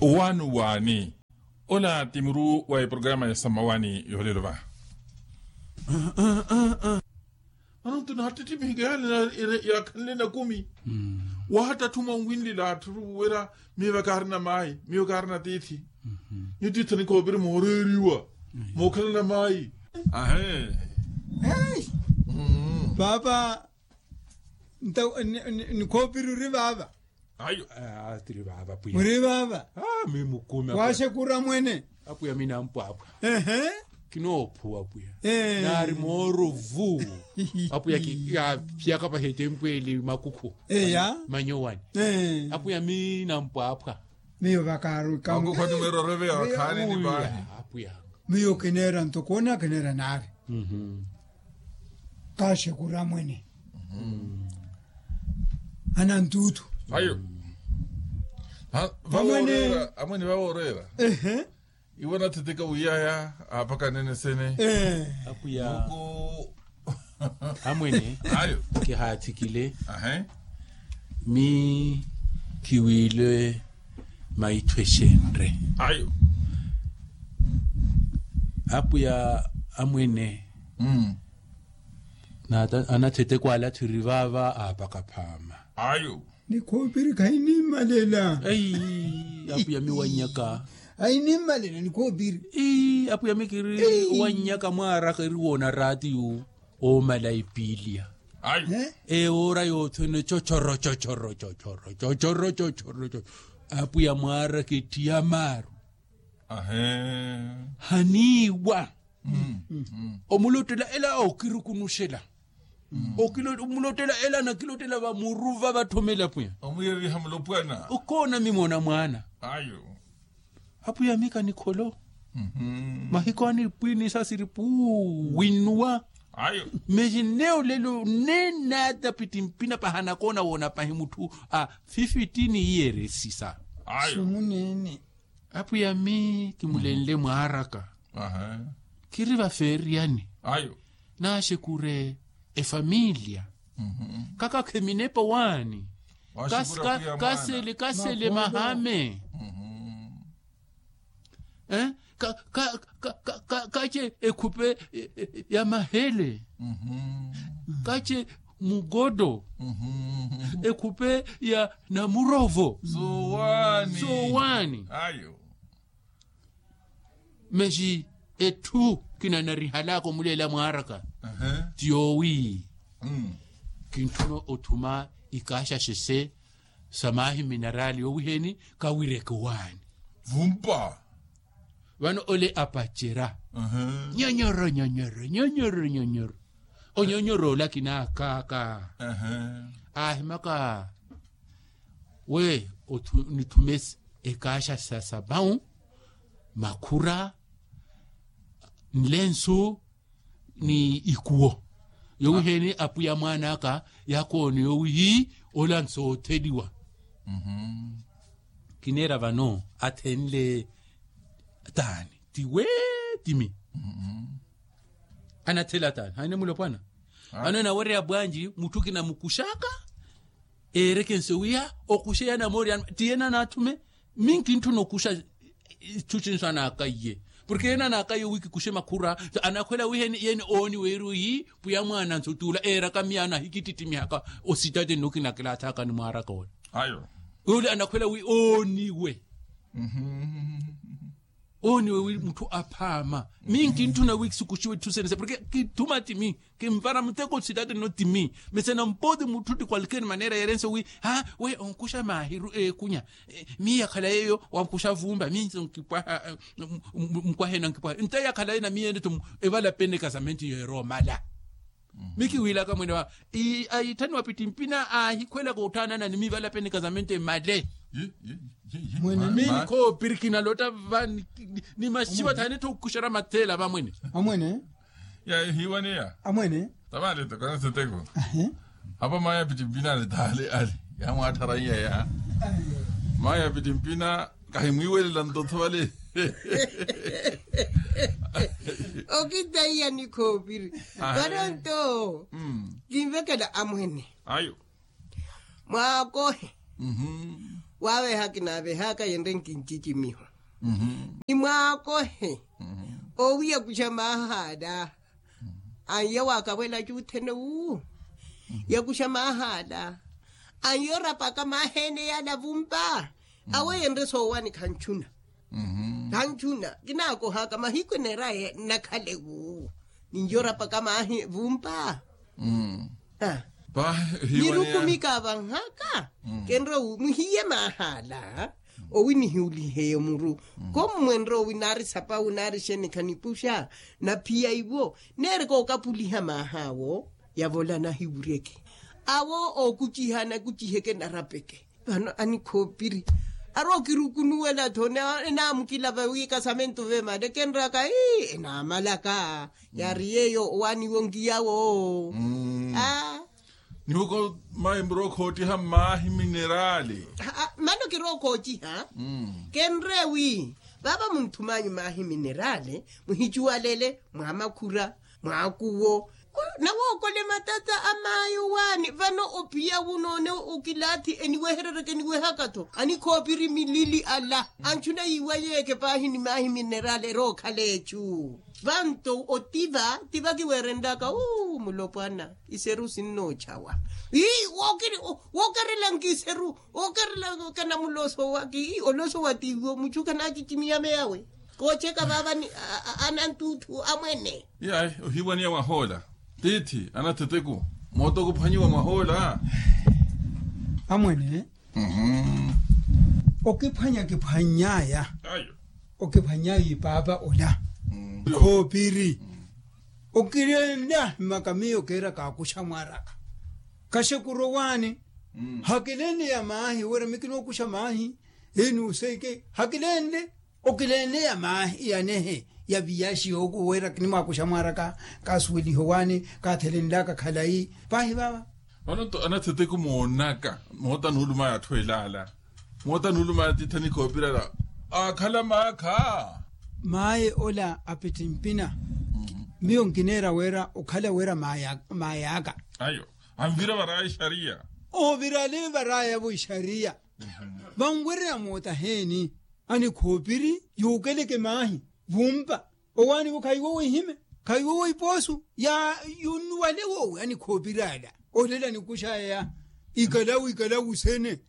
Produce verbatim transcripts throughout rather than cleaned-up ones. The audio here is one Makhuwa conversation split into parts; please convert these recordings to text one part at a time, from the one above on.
Owaani owaani. Ola ti muru wa eprograma ya samawani yoolelo va. Mano nto naattittimihiga yaakhanle nakumi. Wahattatthu mwanwinlila atthu oruwuwera. Miyo va kaarina maayi, miyo kaarina tiithi. Nyuwo tiithi anikhoopiri mooreeriwa, mookhalana maayi. Ahe. Paapa. Nta nikhoopiri ori vaava. Ayo. Tiri vaava pwiya. Muri vaava. Miyo mukumi. Waaxekura mwene. Apwiya miyo nampwaapwa. Kinoophuwa apwiya. Naari mooro vu. Apwiya kiyapyaka pahi etempweli makukhu. Eya. Manyowani. Apwiya miyo nampwaapwa. Miyo vakaaru kamu. Makukhu ati mweeroreve ya vakhaani ni paahi. Apwiya. Miyo kineera ntokoona kineera naari. Kaaxekura mwene. Anantuuthu. Ayo. Amwene vavoorera. Iwo anatheteka wiyaya aapaka anene sene. Apwiya. Amwene. Ayo. Kihaathikile. Ahe. Mi kiwiile maitho exenre. Ayo. Apwiya amwene. Anatheteka wala thiri vaava aapaka phaama. Ayo. Nikhoopiri khainimmalela. Apwiya mi wannyaka. Ainimmalela nikhoopiri. Apwiya mi kiri wannyaka mwaaraka eri woona raatiyu. Oomala epiiliya. Ewoora yoothene chochoro chochoro chochoro chochoro chochoro. Apwiya mwaaraka ettiya maaru. Haniiwa. Omulottela ela okirukunuxela. Omulottela ela anakilottela vamuruva vatthomela apwiya. Okoona mimoona mwaana. Apwiya mika nikholo. Mahiku anipwini sasiri puu winnuwa. Mexi nne olelo nne naata pittimpina paha anakoona woona pahi mutthu a fifitini iyeresisa. Sumunene. Apwiya mi kimulenle mwaaraka. Kiri vafeeriyani. Naaxekure efamiliya. Kaka kheminepa owaani. Kasele kasele mahame. Kache ekhupe ya mahele. Kache mukoto. Ekhupe ya namurovo. Sowaani. Mexi etthu kinanarihalaka omuleela mwaaraka ti yoowi kintthuna othuma ikaaxaxese sa maahi minarali yoowiheeni kawireke owaani. Vumpa. Vano ole apacerya nyonyoro nyonyoro nyonyoro nyonyoro onyonyoro ola kinaakaaka. Aahimaka we nithume ekaaxa sa sabau makhura nlensu ni ikuwo. Yowiheeni apwiya mwaan'aka yaakoone yowihi ola nsootheliwa. Kineera vano athenle taani tiwe timi. Anathela taani haine mulopwana. Vano enawerya bwanji mutthu kinamukuxaka eerekense wiya okuxe yanamoori ti yena anaathume. Minkintthuna okuxa itthu cinso anaakaiye porke yena anaakaiye owikikuxe makhura. Anakhwela wiiheni yeni ooniwe eri oyi pwiya mwaana nso tuula eeraka miyaano ahikittittimiha ositati nno kinakilaathaaka nimwaaraka ole. Ole anakhwela wi ooniwe. Ooniwe wi mutthu aphaama. Minkintthuna wi kisukuxiwe itthu senese porke kithuma timi. Kinvara muteko sitati nno timi. Mese nampoti mutthu ti kwalkeeri maneera yerense wi ha we onkuxa maahiru ekunya. Miyo yakhala yeeyo wankuxa vumba minse nkipwaha. Nkwahena nkipwaha nte yakhala yeena miyo ene to evalapene kasamenti yeeromala. Mikiwiilaka mwene wa aitthaniwa pittimpina aahikhwelaka otthaanana ni mivalapene kasamenti emale. Minikhoopiri kinalotta va ni maxiwa thaani tho okuxera matheela va mwene. Amwene. Yahiiwaneya amwene. Tamale tokona seteko. Apa maya pittimpina ale taale ale yamwatthara iya ya maya pittimpina. Kahimwiiwelela ntotho vale. Okitaiya nikhoopiri. Vano nto kinvekela amwene. Ayo. Mwaakohe. Waaveha kinaavehaka yenre nkincicimiho. Ni mwaakohe owiya kuxa maahaala. Anyo waakavwela cuuthene wu yakuxa maahaala. Anyo rapaka maaheene yaala vumpa. Awo yenre soowani khanchuna. Khanchuna kinaakohaka mahiku eneera nakhale wu. Ninyo rapaka maahi vumpa. Nirukumika avanhaka. Kenre wu muhiye maahaala. Owi nihiuliheyo muru. Kommwenre owi naari sapawu naari xenikha nipuxa. Naphiya iwo neeri kookapuliha maahawo. Yavola nahiwuryeke awo ookuciha anakuciheke narapeke. Vano anikhoopiri ari okirukunuwela-tho. Enaamukilava wi kasamentu vemale kenraka ii enaamalaka. Yaari yeeyo owaaniwo nkiyawo. Niwoko mayi murookhootiha mmaahi minerali. Mano kirookhootiha. Kenre wi vava munthumanyu maahi minerali muhicuwalele mwa makhura mwa akuwo. Nawookole matata a mayi owaani vano ophiya wunoone okilaathi eniweherereke eniwehaka-tho anikhoopiri milili ala. Anchuna yiiwa yeeke paahi ni maahi minerali erookhala echu. Vanto otiva tiva kiweerenlaka uu mulopwana. Iseru sinnoochawa ii wookerelanka iseru wookerelanka namuloso waki ii oloso wa tiiwo muchu khanacicimiya meyawe. Koocheka vaavani anantuuthu amwene. Iyayi ohiwaniya mwahoola tiithi anatheteku. Moota okuphwanyiwa mwahoola amwene. Okiphwanya kiphwany'aya. Okiphwany'aya ipaapa ola khoopiri. Okilenle ahimaka miyo keera kaakuxa mwaraka kaxekuro waani. Hakilenle ya maahi wira mikinookuxa maahi. Enuuseike hakilenle okilenle ya maahi yanehe ya viyaxi yookuwera kinimwakuxa mwaraka. Kaasuweliho waani kaathelenlaka khalayi paahi vava. Vano-to anatheteku moonaka moota nuulumaya atthu elaala. Moota nuulumaya tiithani khoopirala aakhala maakha. Maye ola apittimpina miyo nkineera wira okhala wira maay'aka. Ayo anvira varaya ixariya. Ovirale varayavo ixariya. Vanwerya moota heeni anikhoopiri yuukeleke maahi vumpa. Owaaniwo khaiwo wihime khaiwo wipoosu ya yunnuwale woowi anikhoopiri ala. Olela nikuxaya ikalawu ikalawu sene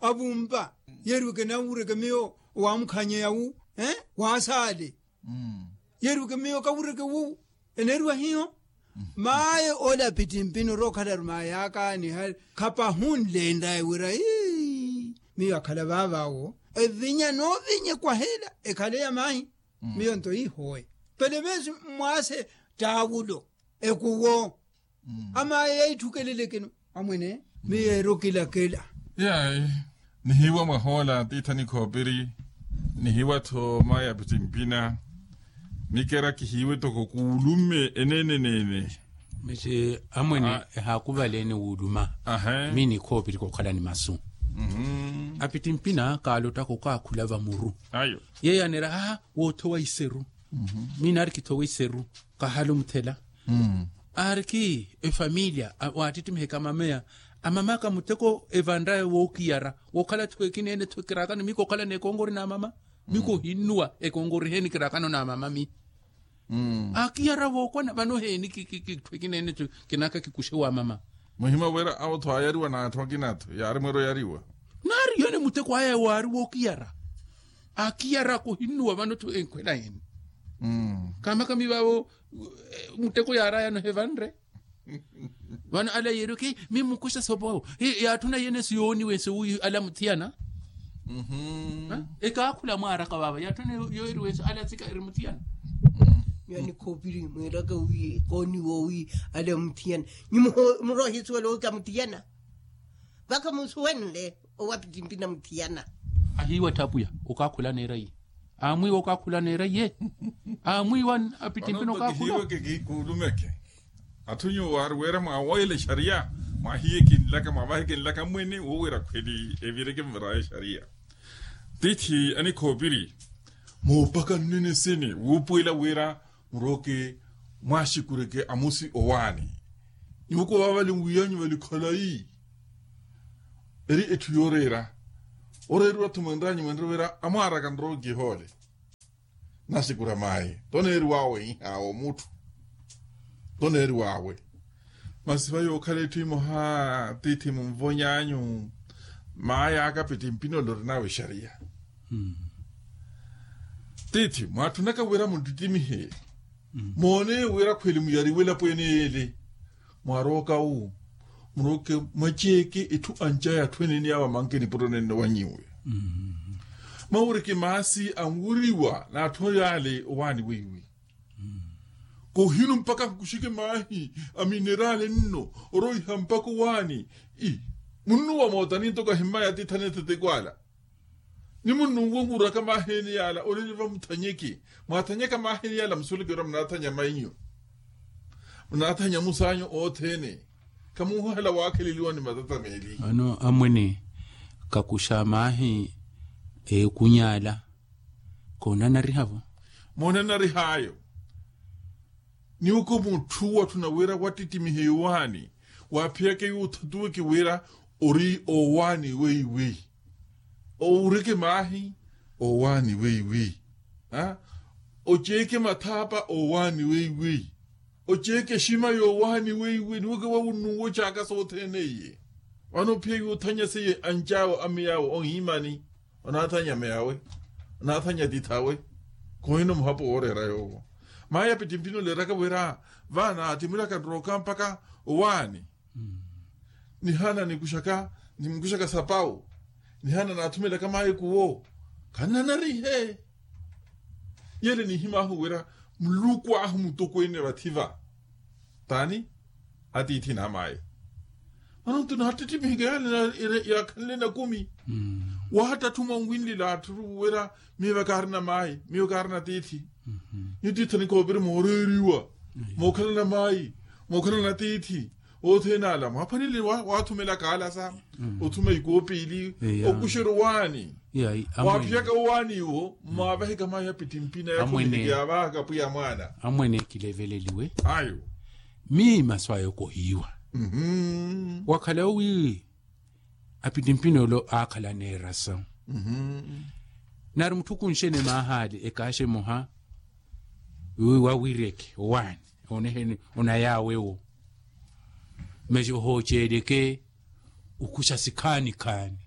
avumpa. Yeeriweke nawureke miyo owaamukhanyeya wu waasaale. Yeeriweke miyo kawureke wu eneeriwa hiyo. Maye ole apittimpini orookhala ari maye akaani hale khapahunle enraye wira ii miyo akhala vaavaawo evinya noovinya ekwahela ekhale ya maahi. Miyo nto ihowe pele veesi mmwaase taawulo ekuwo amaye yaithukelelekeno amwene. Miyo erokilakela. Yayi nihiiwa mwahoola tiithani khoopiri nihiiwa-tho maye apittimpina. Mikera kihiiwe toko kuulume eneene eneene. Misi amwene ehaakuvaleene wuuluma. Mii nikhoopiri kookhalani masu apittimpina kaalottaka okaakhula vamuru. Yeeyo aneera aa woothowa iseru. Mii naari kithowa iseru kahala omuthela. Aariki efamiliya waattittimiha ekamameya amamaka muteko evanraya wookiyara wookhala-tho ekina ene-tho kiraakano mii kookhalana ekonkori n'amama. Mii kohinnuwa ekonkori heeni kiraakano n'amama mii. Akiyara vookwana vano heeni kitthu ekina ene-tho kinaaka kikuxe wamama. Muhima wira awo-tho aayariwa n'atthu akina-tho yaari mweera oyariwa. Naari yene muteko aya waari wookiyara akiyara kohinnuwa vano-tho enkhwela heeni. Kamaka mii vaavo muteko yaarayano hevanre. Vano ala yeeriweke mii mukuxa sopo yaatthuna yene siyooniwense wi ala muthiyana. Ekaakhula mwaaraka vaava yaatthuna yooriwense ala tsika eri muthiyana. Miyo anikhoopiri mwiiraka wi kooniwo wi ala muthiyana. Nyi muroohisuwela wi kamuthiyana vaka musuwenle. Owapittimpina muthiyana ahiiwa tthaapuya okaakhula neera iye. Aamwiiwa okaakhula neera iye. Aamwiiwa apittimpina okaakhula. Kihiiweke kiikuulumeke atthu nyuwo waari wira mwawoyela exariya mwahiye kinlaka mwavahe kinlaka mwene wowira khweli evireke mvaraye exariya. Tiithi anikhoopiri moopaka nnene sene wuupuwela wira murooke mwaaxikureke amusi owaani. Nyuwo ko vaavale nwiyanyu vali khalayi eri etthu yooreera. Oreeriwa-tho mwenranyu mwenre wira amwaaraka nrowa okihoole. Nasikura mayi toneeriwawe ihawo mutthu toneeriwawe. Masi vayi okhala etthu imoha tiithi munvonyanyu. Mayi aka pittimpinole orinawe exariya. Tiithi mwaatthunaka wira munttittimihe. Moone wira khweli muyariwe elapo ene yeele. Mwarooka wu murooke mwaceeke etthu anca ya atthu ene ene yawo amanke nipuro nenno wa nyiwe. Mawureke maasi anwuriwa n'atthu yaale owaani weiwi. Kohinu mpakha nkuxeke maahi a minerale nno oroiha mpakha owaani. Munnuwa mootani ntoko ahimmaya atiithani ethetekwala. Ni munnuwe onwuraka maahi ene yaala olele vamuthanyeke. Mwathanyaka maahi ene yaala musoleke ora munaathanya mainyu. Munaathanya musaanyu othene. Khamuuhela waakheleliwa ni matata meeli. Ano amwene kakuxa maahi eekunyala. Koonanariha-vo. Moonanarihaayo. Niwuko mutthu watthuna wira wattittimiha ewaani. Waaphiyaka yuuthatuweke wira ori owaani weiwei. Owureke maahi owaani weiwei. Oceeke mathaapa owaani weiwei. Oceeke exima yowaani weiwei niwuko wawunnuwa ocaaka sothene iye. Vano ophiya yuuthanya seiye ancawe ameyawe ohiimani. Onaathanya meyawe. Onaathanya tithawe. Khohino muhapo wooreera yoowo. Mayi apittimpini oleeraka wira vano atimulaka nrooka mpakha owaani. Nihana nikuxaka nimukuxaka sapawu. Nihana naathumelaka mayi kuwo. Khannanarihe. Yele nihimaahu wira muluku ahu mutokweene vathiva. Taani atiithi n'amayi. Mano nto naattittimihiga yale yaakhanle nakumi. Waattatthuma onwinlila atthu wira miiva kaarina mayi miiva kaarina tiithi. Ni tiithi anikoopiri mooreeriwa mookhalana mayi mookhalana tiithi. Othene ala mwaaphanile waathumela kaalasa othuma ikoopili okuxerya owaani. Waaphiyaka owaani iwo mwaavaheka mayi apittimpina yakhumiliki yaavahaka pwiya mwaana. Amwene kileveleliwe ayo. Mii masu ayo kohiiwa. Wakhala owi apittimpina olo aakhala neerasa. Nari mutthu okunxene maahali ekaaxa emoha wi wawireke owaani oneheni onayaawewo. Mexi ohooceeleke okuxa sikhaani khaani.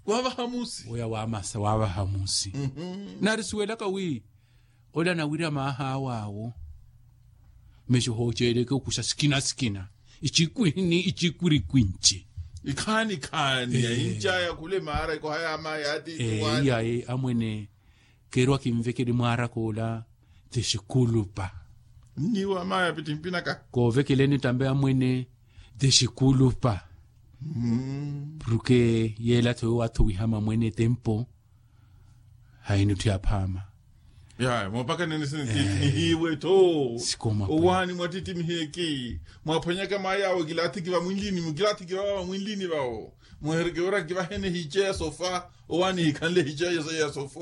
Waavaha musi oya waamasa waavaha musi. Nari suwelaka wi ola nawira maahaawe awo. Mexi ohooceeleke okuxa sikina sikina icikwini icikwirikwinci. Ikhaani khaani ya inca ya khule maara ikoha ya mayi atiithi waani. Iyayi amwene keeriwa kinvekele mwaaraka ola. Tixikulupa nniwo amaya pittimpinaka. Koovekeleni tambe amwene tixikulupa. Purke yeela-tho yowaatho wihama mwene tempo. Hayi nitthu yaphaama. Yaya moopakaneni sini titinihiwe-tho. Owaani mwattittimiheki mwaphwanyaka mayi awo kilaathiki vamwinlini mukilaathiki vava vamwinlini vawo. Muhereke wira kivahene hiice ya sofa owaani hikhanle hiice ya sofa.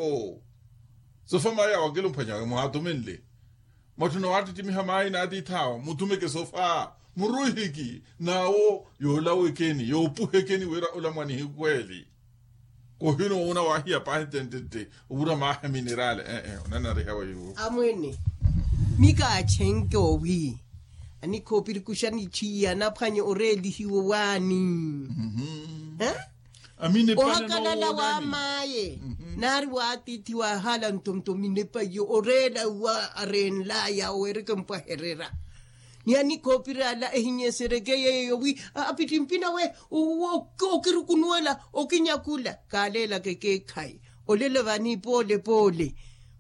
Sofa mayi awo akilumphwanyawe muhaathumenle. Mwatthuna waattittimiha mayi n'atiith'awe muthumeke sofa muruhiki n'awo yoolawekeni yoopuhekeni wira ola mwanihikhweeli. Kohino woona waahiya paahi ttentette owura maahi a minerale ee onanariha weiwo. Amwene mi kaachenke owi anikhoopirikuxa nichiya anaphwanye oreelihiwa owaani. Ohakalala wa maye nari wa atiithi wahala ntonto minepa iyo oreela wa areenlaya oweereke mpwaherera. Ni anikhoopiri ala ehinyesereke yeyo wi apittimpina we okirukunuwela okinyakula kaaleelaka ekeekhayi. Olela vani poole poole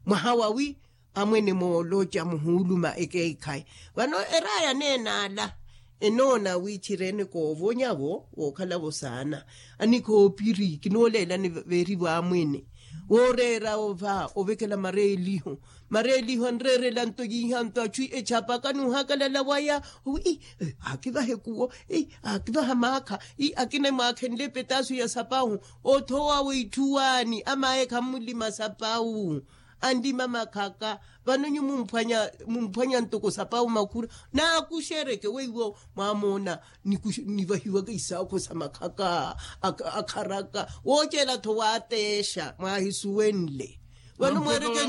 mwaha wawi amwene mooloca muhuuluma ekeekhayi. Vano eraaya neene ala enoona wi txirene koovonya-vo wookhala-vo saana. Anikhoopiri kinooleelani veerivo amwene wooreera ova ovekela mareeliho. Mareeliho anreerela nto yiiha nto axu echapaka n'uhakalala waya owi akivahe kuwo. Akivaha maakha akina mwaakhenle petaasu ya sapawu. Othowa w'itthuwaani amaye khammulima sapawu. anlima makhaka. Vano nyu mumphwanya ntoko sapawu makhura, naakuxereke weiwo mwamoona nivahiwaka isaakho sa makhaka akharaka woocela-tho waateexa mwaahisuwenle. Vano mweereke